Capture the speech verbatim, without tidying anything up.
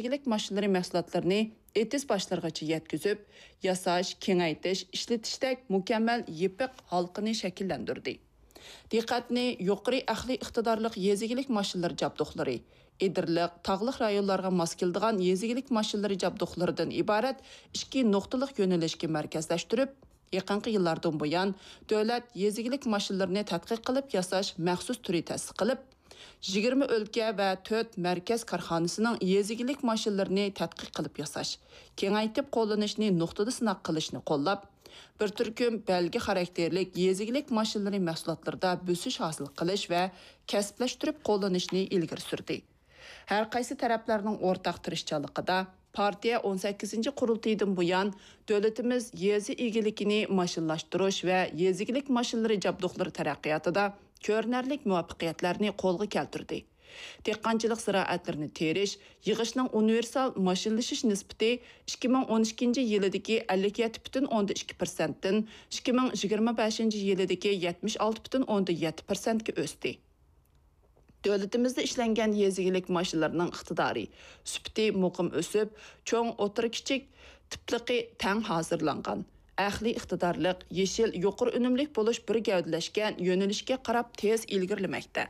يېزا ئىگىلىك ماشىنىلىرى مەھسۇلاتلىرىنى ئېتىز باشلىرىغىچە يەتكۈزۈپ، ياساش، كېڭەيتىش، ئىشلىتىشتەك مۇكەممەل يېپىق ھالقىنى شەكىللەندۈردى. دىققەتنى يۇقىرى ئەقلىي ئىقتىدارلىق يېزا ئىگىلىك ماشىنىلىرى جابدۇقلىرى، ئېدىرلىق، تاغلىق رايونلارغا ماس كېلىدىغان يېزا ئىگىلىك ماشىنىلىرى جابدۇقلىرىدىن ئىبارەت ئىككى نۇقتىلىق يۆنىلىشكە مەركەزلەشتۈرۈپ، يېقىنقى يىللاردىن بۇيان، دۆلەت يېزا ئىگىلىك ماشىنىلىرىنى تەتقىق قىلىپ ياساش مەخسۇس تۈرى تەسىس قىلىپ، يىگىرمە ئۆلكە ۋە تۆت مەركەز كارخانىسىنىڭ يېزا ئىگىلىك ماشىنىلىرىنى تەتقىق قىلىپ ياساش، كېڭەيتىپ قوللىنىشنى نۇقتىدا سىناق قىلىشنى قوللاپ، بىر تۈركۈم بەلگە خاراكتېرلىك يېزا ئىگىلىك ماشىنىلىرى مەھسۇلاتلىرىدا بۆسۈش ھاسىل قىلىش ۋە كەسىپلەشتۈرۈپ قوللىنىشنى ئىلگىرى سۈردى. ھەر قايسى تەرەپلەرنىڭ ئورتاق تىرىشچانلىقىدا، پارتىيە ئون سەككىزىنچى قۇرۇلتىيىدىن بۇيان، دۆلىتىمىز يېزا ئىگىلىكىنى ماشىنىلاشتۇرۇش ۋە يېزا ئىگىلىك ماشىنىلىرى جابدۇقلىرى تەرەققىياتىدا كۆرۈنەرلىك مۇۋەپپەقىيەتلەرنى قولغا كەلتۈردى. دېھقانچىلىق زىرائەتلىرىنى تېرىش، يىغىشنىڭ ئۇنىۋېرسال ماشىنىلىشىش نىسبىتى ئىككى مىڭ ئون ئىككىنچى يىلىدىكى ئەللىك يەتتە پۈتۈن ئوندىن ئىككى پىرسەنتتىن ئىككى مىڭ يىگىرمە بەشىنچى يىلىدىكى يەتمىش ئالتە پۈتۈن ئوندىن يەتتە پىرسەنتكە ئۆستى. دۆلىتىمىزدە ئىشلەنگەن يېزا ئىگىلىك ماشىنىلىرىنىڭ ئىقتىدارى، سۈپىتى مۇقىم ئۆسۈپ، چوڭ، ئوتتۇرا، كىچىك تىپلىقى تەڭ ھازىرلانغان، ئەقلىي ئىقتىدارلىق، يېشىل، يۇقىرى ئۈنۈملۈك بولۇش بىر گەۋدىلەشكەن يۆنىلىشكە قاراپ تېز ئىلگىرىلىمەكتە.